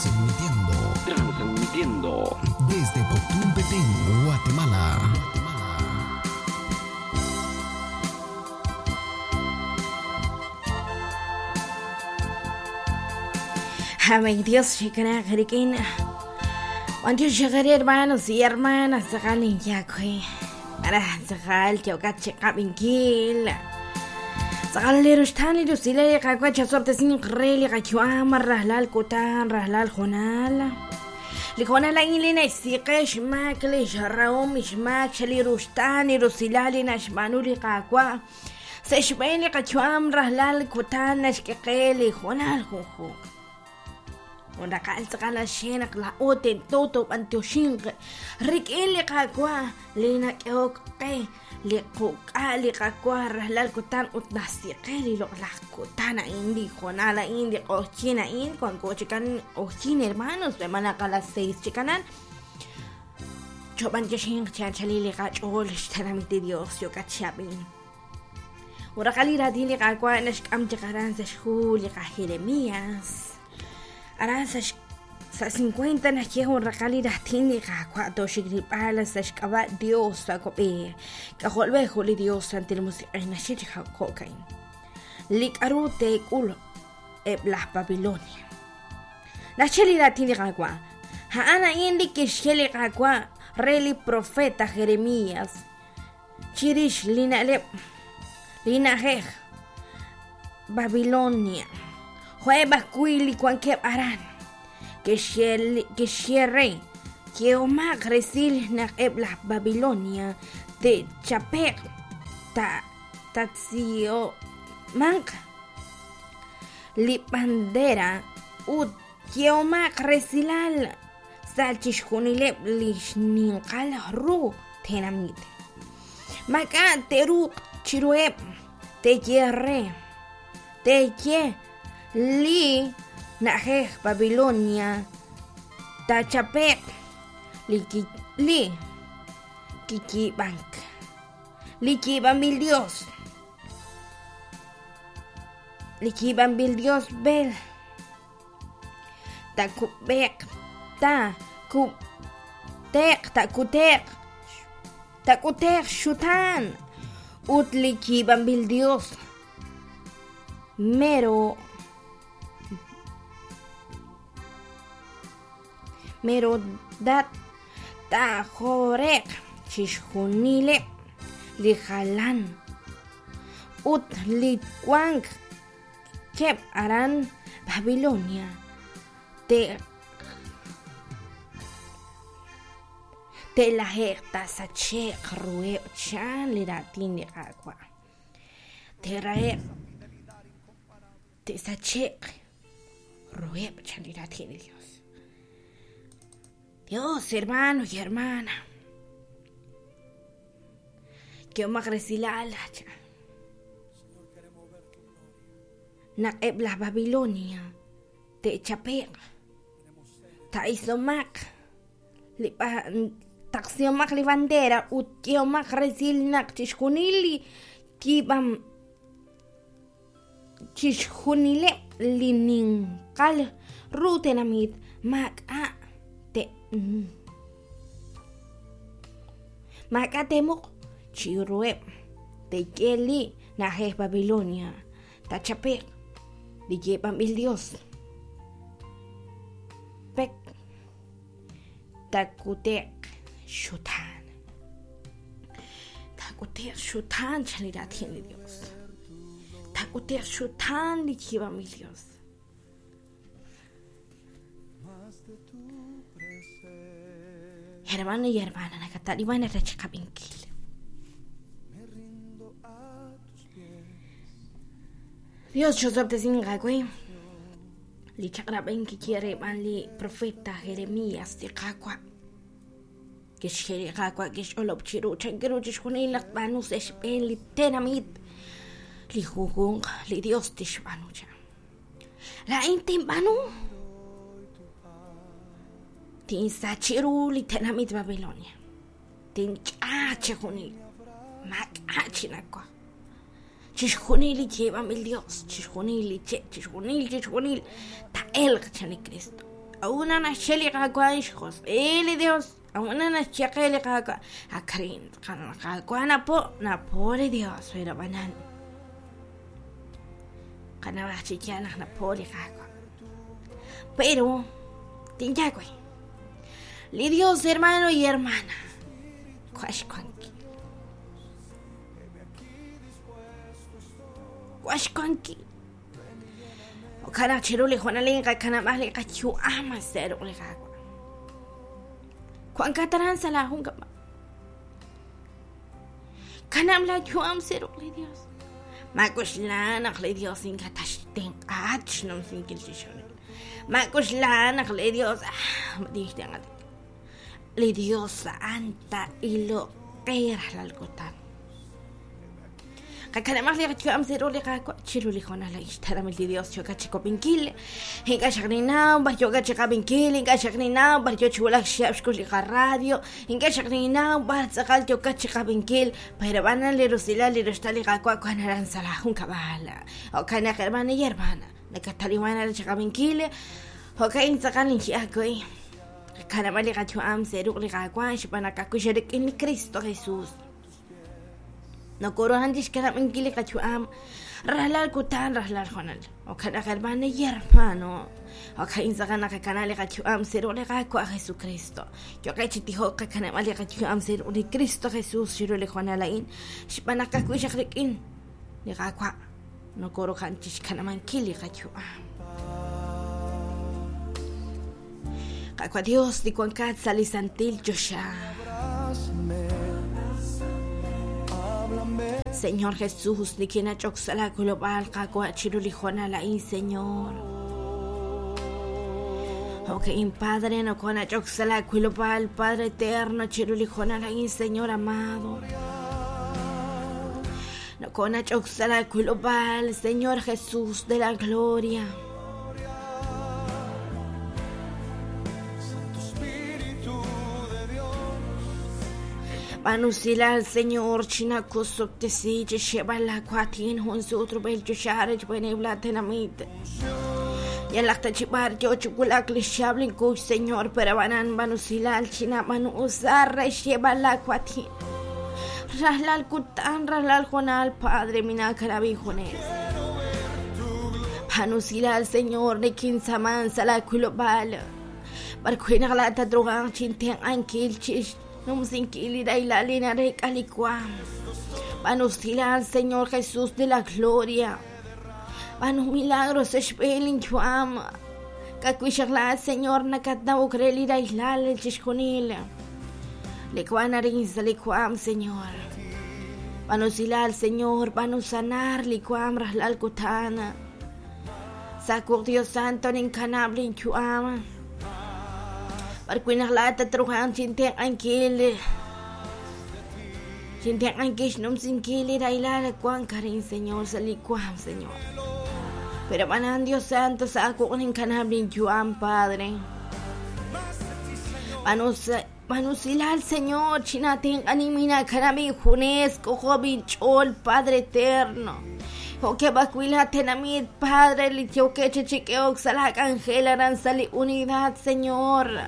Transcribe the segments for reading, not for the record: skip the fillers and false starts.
Transmitiendo. Transmitiendo. Desde Poptún, Petén, Guatemala. Amén. Dios, shikana, jeriquín. Juan Dios, hermanos y hermanas, sakalin yakwe. Para sakal, chokat, chikabinkil. Sakal lirushtan lirusile, kakwa, chasorte sin reli, kachuam, rahlal kutan, rahlal jonal. Lijonal inlina isiqe xmak li xraom xmak xlirushtan lirusilal naxmanuli kakwa. Sexb'en li qachuam rahlal kutan naxk'eqe li jonal junjunq. Unraqal tz'aqal axenaq la oten toto b'antioxinq rik'in li qakwa li nak'eok qe li quk'a li qakwa rahlal kutan ut nasiqe li loq'laj kutan a'in li jonal a'in li q'ojyin a'in cuanko chikan q'ojyin hermanos b'emanaqa a las 6 chikanan chob'antioxinq chanchali li qach'ool xtenamit li Dios yok'atxab'in. Uraqal li raatin li qakwa naxk'am chaqaran sa' xju li qa Jeremías. Aran sa' 50 naxye jun raqal li raatin li qakwa toxikrib'al sa' xk'ab'a' Dios sakob'e. K'ajolb'ej ju li Dios santil musiq'ej naxye chi jo'kain. Li k'aru teek'ul eb' laj Babilonia. Naxye li raatin li qakwa. A'an a'in li kixye li qakwa re li profeta Jeremías. Chirix li na'leb' li na'ajej Babilonia. Jo'eb' ajwi' li wankeb' aran. Kixye re yehomaq resil naq eb' laj Babilonia te'chape'q tatziyomanq li bandera ut yehomaq resilal sa' chixjunileb' li xninqal ru tenamit. Mak'a te'ruuq chiruheb' te'ye re te'ye li na'ajej Babilonia tachape'q li kiyiib'ank li yiib'anb'il Dios li yiib'anb'il Dios Bel takub'eq ta kub'teq takuteq tak'uteq xutan ut li yiib'anb'il Dios mero merodat tajoreq chixjunileb' li jalan ut li wank keb' aran Babilonia te'laje'q tasache'q ruheb' chan li raatin li Qaawa'. Te'rahe'q te'sache'q ruheb' chan li raatin li Dios. Dios, hermano y hermana. Yehomaq resilal chan. Naq eb' laj Babilonia te'chape'q ta'isomaq li taqsihomaq li bandera ut yehomaq resil naq chixjunil li yiib'am chixjunileb' li ninqal ru tenamit maak'a' te maak'a' te'muq chiruheb' te'ye li na'ajej Babilonia tachape'q li yiib'anb'il Dios pek takute'q xutan takute'q xutan chan li raatin li Dios takute'q xutan li yiib'anb'il Dios. Hermano y hermana, nakataliwan rachqab'inkil. Dios chosob'tesinqa we li chaq'rab'en kiye b'an li profeta Jeremías li Qaawa' kixye li Qaawa' kixch'olob' chiru chankiru chixjunil naq tb'aanu sa' xb'een li tenamit li junjunq li Dios tixb'aanu chan. Laa'in tinb'aanu tinsachi ru li tenamit Babilonia tinch'a chixjunil maak'a' chinawaj chixjunil li yiib'anb'il Dios chixjunil li che' chixjunil chixjunil ta'elq chan li Cristo. K'a'ut naxye li Qaawa' xjosq'il li Dios? K'a'ut naxye qe li Qaawa'? Akrin Qaawa' napo, napo li Dios, pero b'anan. Qanawaj chi yaal naq napo li Qaawa'. Pero tinyakwe. Li Dios, hermano y hermana, waxwanki. Waxwanki. Okana chiru li jonalin qakanab'aj li qayu'am seruq li Qaawa'. Kuan kataran sa la jun kaba. Kanam la yu'am seruq li Dios. Makuxla naq li Dios inka taxtenq'at xnumsinkil chixjunil. Makuxla naq li Dios madixtenq'at. Li Dios anta ilo qe rajlal kutan. Qakanamaj li qayu'am seruq li Qaawa' chiru li jonal ixtaramil li Dios yoka chikopinkil. Inka xaqninaw bar yoka chiqabinkil, inka xaqninaw bar yo chiwulak xiab xkux li radio, inka xaqninaw bar tz'aqal yoka chiqabinkil, pero b'anan li rusilal li ruxtal li Qaawa' kuan aran sa la jun kab'al. Jo'kan naq hermana y hermana, nakataliwan aran chiqabinkil, jo'kan tz'aqal inchi'akuy. Qakanab'al li qayu'am seruq li Qaawa' xb'aan naq akuxerik'in li Cristo Jesús. Nokoruhan chixkanab'inkil li qayu'am rajlal kutan rajlal jonal. Jo'kan naq hermana y hermano, jo'kan tz'aqal naq qakanab' li qayu'am seruq li Qaawa' Jesucristo. Yo'qe chi tijok qakanab'al li qayu'am seruq li Cristo Jesús chiru li jonal a'in xb'aan naq kajwi' xaq rik'in li Qaawa' nokoruhan chixkanab'ankil li qayu'am. Qaawa' Dios li wankat sa' li santil choxa. Señor Jesús, nikinach'ok sa' la kulob'aal Qaawa' chiru li jonal a'in, Señor. Okay, Padre, nokonach'ok sa' la kulob'aal, Padre eterno, chiru li jonal a'in, Señor amado. Nokonach'ok sa' la kulob'aal, Señor Jesús de la gloria. Banusilal, Señor, china kusuptesi, chishebala kwatin, hun sutru bel chushare, chbenebla tenamit. Yalakta chibar, yo chukulak lishablin kush, Señor, pero banan banusilal, china banu usar, shebala kwatin. Raslal kutan, raslal jonal, Padre, mina karabijones. Banusilal, Señor, nikin saman, sala kulobal. Barkuina galata drogan, chinten ankil, chish. Numsinkili dailalina rekalikwa. Banusilal, Señor Jesús de la gloria. Banu milagros eshbelin chuam. Kakuishakla, Señor, nakatna ukreli dailal el chishkonil. Likuana rinza likuam, Señor. Banusilal, Señor, banusanar likuam rahlal kutana. Sakur Dios Santo ninkanablin chuam. Barkuinaq laata trujan chinten ankil. Chinten ankish numsinkili railala kuan karin, Señor, salikuam, Señor. Pero banan Dios Santo sakunin kanablin yuam, Padre. Manusilal, Señor, chinaten animina kanabi junes kojobin chol, Padre eterno. Oke bakuila tenamit, Padre, litioque chichiqueoc, salak angela, aranzali unidad, Señor.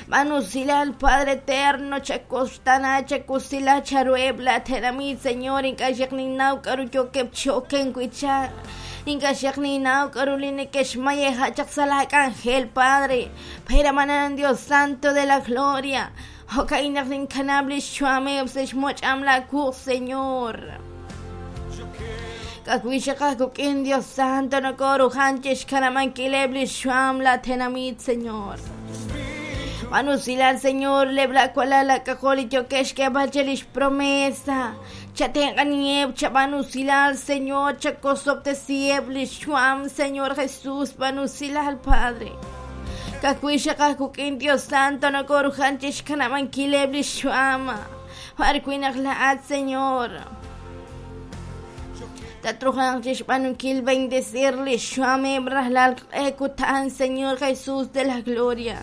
Manusilal, Padre eterno, chacostana, chacosila, charuebla, tenamit, Señor, inka karu yoke choken cuicha. Inka shekninau, karuline keshmaye, hachak salak angel, Padre. Pero manan Dios Santo de la gloria. Okainak ninkanable shuame, obseshmoch amla ku, Señor. Kakuisha kakukin Dios Santo no koru hanchesh kanamanquilebli shuam la tenamit, Señor. Manusilal, Señor, lebla kuala kakoli yokesh que bachelish promesa. Chatenganieb, chabanusilal, Señor, chakosoptesiebli shuam, Señor Jesús, manusilal, Padre. Kakuisha kakukin Dios Santo no koru hanchesh kanamanquilebli shuam. Arkuinak laat, Señor. Tatrujan chishpanukil bendecirle shuame brahlal ekutan, Señor Jesús de la gloria.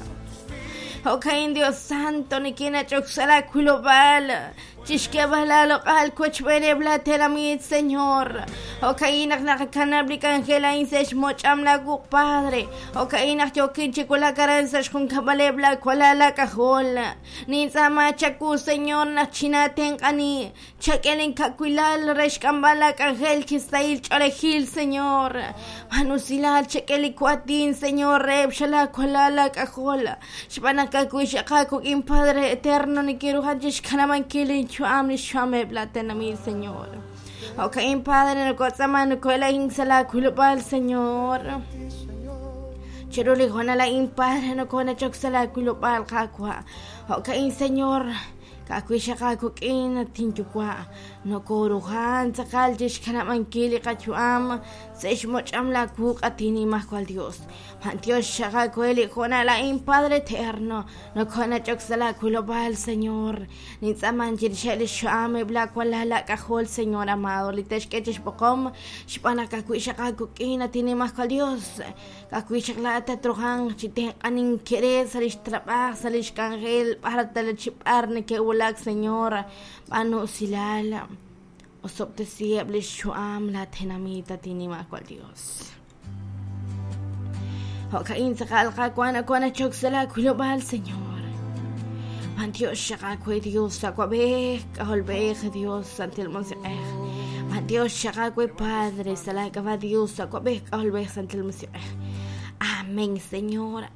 Okain Dios Santo, nikina choxala kulobal. Chixk'eeb'al aaloq'al wochb'eeneb' laatenamit, Señor. Jo'ka'in naq naqakanab' li k'anjel a'in sa' xmoch'am laawuq', Padre. Jo'ka'in naq yookin chi wulak aran sa' xjunkab'aleb' laawalal laak'ajol. Nintz'aama chawu, Señor, naq chinaatenq'ani. Chak'e linkawilal re xk'amb'al laak'anjel chi sahil ch'oolejil, Señor. B'aan usilal chak'e li waatin, Señor, reheb' xalaawalal laak'ajol. Xb'aan naq ka'ajwi' xaqaak wik'in, Padre Eterno, nikinruhan chixkanab'ankil linyu'am li xyu'ameb' laatenamit, Señor. Jo'ka'in, Padre, nokotz'aaman noko'ela'ink sa' laak'ulub'aal, Señor. Chiru li hoonal a'in, Padre, nokonachok sa' laak'ulub'aal, Qaawa'. Jo'ka'in, Señor, ka'ajwi' xaqaak wik'in, at inyuwa', nokoruhan tz'aqal chixkanab'ankil li qayu'am sa' xmoch'am laawuq', at inimajwal Dios. B'antiox xaqaak we li hoonal a'in, Padre Eterno, nokonach'ok sa' laak'ulub'aal, Señor. Nintz'aaman chirixeb' li xyu'am eb' laawalal laak'ajol, Señor amado, li te'xk'e chi xb'oqom xb'aan naq ka'ajwi' xaqaak wik'in, at inimajwal Dios. Ka'ajwi' xaq laa'at tatruhanq chi tenq'anink re sa' li xtrab'aaj, sa' li xk'anjel, b'ar ta chi b'ar neke'wulak, Señor. B'aanu usilal, osob'tesiheb' li xyu'am laatenamit, at inimajwal Dios. Jo'ka'in tz'aqal Qaawa' nokonachok sa' laakulub'aal, Señor. B'antiox xaq aawe, Dios, Awab'ej, K'ajolb'ej, Dios, Santil Musiq'ej. B'antiox xaq aawe, Padre, sa' laak'ab'a' Dios, Awab'ej, K'ajolb'ej, Santil Musiq'ej. Amén, Señor.